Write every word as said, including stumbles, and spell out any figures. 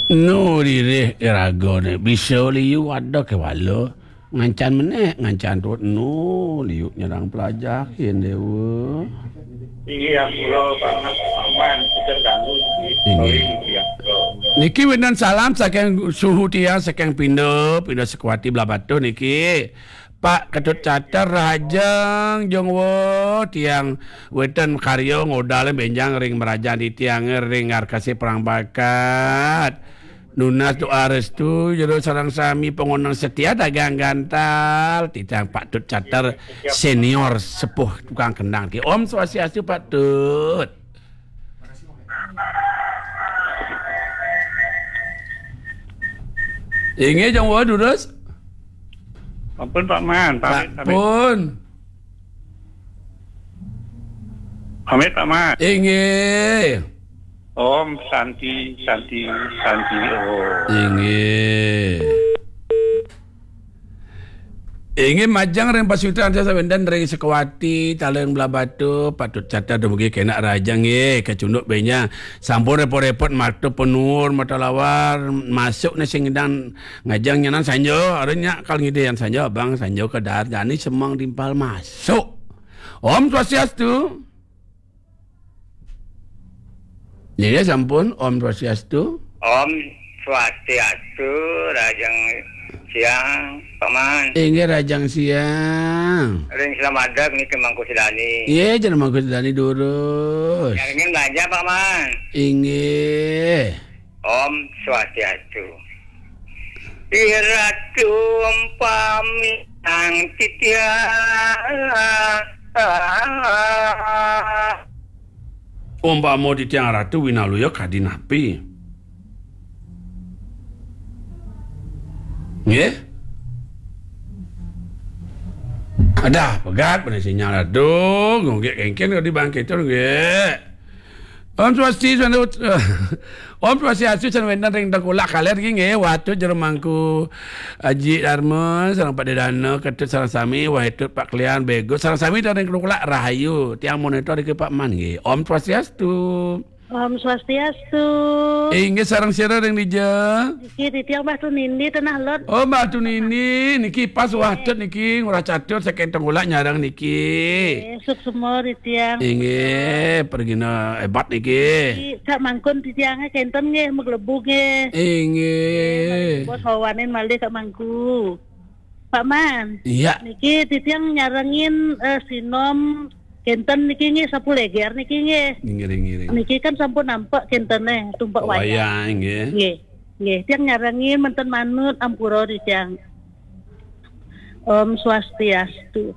Nu lirih iragané, bisa liu ada kéwala. Ngancan menék, ngancan tuut, nu liu nyerang pelajahin, Déwa. Inggih, ampura, Paman, Paman, kita ganggu, inggih. Sorry, inggih, ampura. Niki wénten salam saking suhu tiang, saking Pinda, Pinda Sukawati Blahbatuh niki. Pak Ketut Catur, rahajeng, jeng wéh, tiang wénten karya ngodal bénjang ring mrajan titiang ring Arkasi Perang Bakat. Nunas doa restu jero sareng sami pangoneng setia dagang gantal. Titiang Pak Tut Catur senior sepuh tukang kendang. Om Swastiastu, Pak Tut. Inggih, jeng wéh, durus. Ampun, Pak Man. Pamit, pamit. Pun. Pamit, Pak Man. Inggih. Om Santi, Santi, Santi, Om. Inggih. Inggih, majeng ring pasuitran sawénten ring Sukawati, Taling Blahbatuh, Pak Tut Catur dumugi kénak rahajeng nggih, kacunduk bénjang. Sampun répot-répot matur panuwun, matur lawar, masuk né sing ngidang ngajeng nyanan sanja, arep nyak kal ngidih yan sanja, abang sanja ka dahat jani semeng timpal masuk. Om Swastiastu. Nggih, sampun. Om Swastiastu. Om Swastiastu, rahajeng siang, Paman. Inggih, rahajeng siang. Ring Slamadeg niki Mangku Sedani. Nggih, jeneng Mangku Sedani durus. Nyarengin belanja, Paman. Inggih. Om Swastiastu. Iratu umpami ang titiang. Umpama titiang ratu winaluya kadi napi? Nggih? Adah, pegat bener sinyal. Aduh, ngunggik kengken kadi bangkit tur nggih. Om Swasti, Om Swastiastu, sing wénten ring Tengkulak kalih nggih, nggih, Watu Jero Mangku, Aji Darma, sareng Pak Dedana, Ketut sareng sami, Wahitut Pak Klian, Bego, sareng sami ring Tengkulak rahayu. Tiang monitor iki Pak Man nggih. Om Swastiastu. Om Swastiastu. Inggih, sareng sira ring dija? Niki titiang Mbah Tunindi Tanah Lot. Oh, Mbah Tunindi, niki pas Wahitut niki, Ngurah Catur saking Tengkulak nyareng niki. Nggih, suksma titiang. Inggih, pragina hébat niki. Niki, sak mangkun titiangé kénten nggih, maglebu nggih. Inggih. Bos wawanin malih sak mangku. Pak Man. Iya. Niki titiang nyarengin, eh, sinom kénten niki nggih, Sapu Léger niki nggih. Ngiring, ngiring. Niki kan sampun nampek kéntené, tumpek wayang. Wayang, nggih. Nggih. Nggih, tiang nyarengin manten manut ampura titiang. Om Swastiastu.